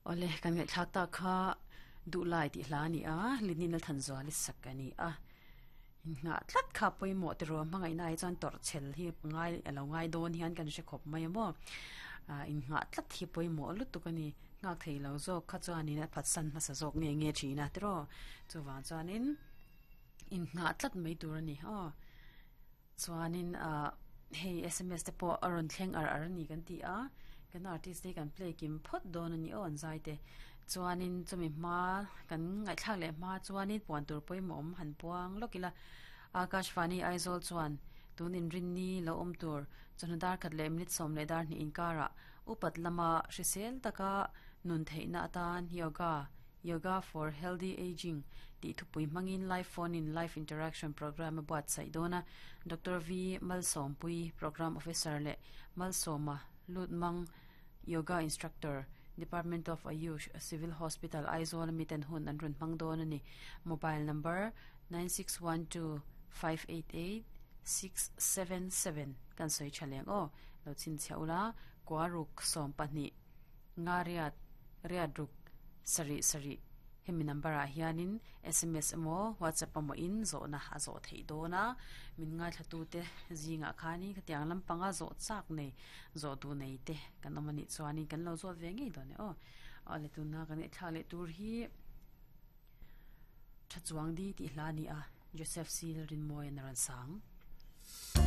Awle, kan ngaihthlak tak kha Duhlai tih hla a ni a, Linin Lalthanzuali sak a ni a. Inngah tlat kha pawimawh te ruah hmangaihna ah chuan tawrhchhel hi ngai a lo ngai dawn hian kan hre khawp mai a maw. Ah inngah tlat hi pawimawh lutuk a ni. Nghak thei lo zawk kha chuanin a phatsan hmasa zawk nge nge thin a tiraw. Chuvang chuanin inngah tlat mai tur a ni aw. Chuanin ah hei sms te pawh a rawn thleng ar ar a ni kan ti a, kan artist te hi kan play kim phawt dawn a ni aw an zai te. Chuanin chumi hma kan ngaihthlak leh hma chuanin puan tur pawimawh awm han puang lawk ila, Akashvani Aizawl chuan tun inrinni lo awm tur chawhnu dar khat leh minute 10 leh dar hnih inkarah upat lama hrisel taka nun theihna atan yoga Yoga for Healthy Ageing tih thupui hmangin live phone in live interaction programme a buatsaih dawn a, Doctor V Malsawmpui, Programme Officer leh Malsawma Lutmang, Yoga Instructor, Department of Ayush, Civil Hospital, Aizawl a miten hun an rawn hmang dawn a ni. Mobile number, 9612588677 kan sawi tha leng aw, lo chhinchhiah ula, Kuaruk 12. Nga riat, riat ruk, sarih sarih hemi number ah hianin sms emaw whatsapp emaw in zawhna a zawh theih dawn a, min ngaithla tute zingah khanin khatiang lampanga zawh chak nei zawh duh nei te kan awm anih chuanin kan lo zawt ve ngei dawn e aw. Awle tuna kan ngaihthlak leh tur hi Tha Chuang Di tih hla a ni a, Joseph Sil Rinmawian a rawn sang.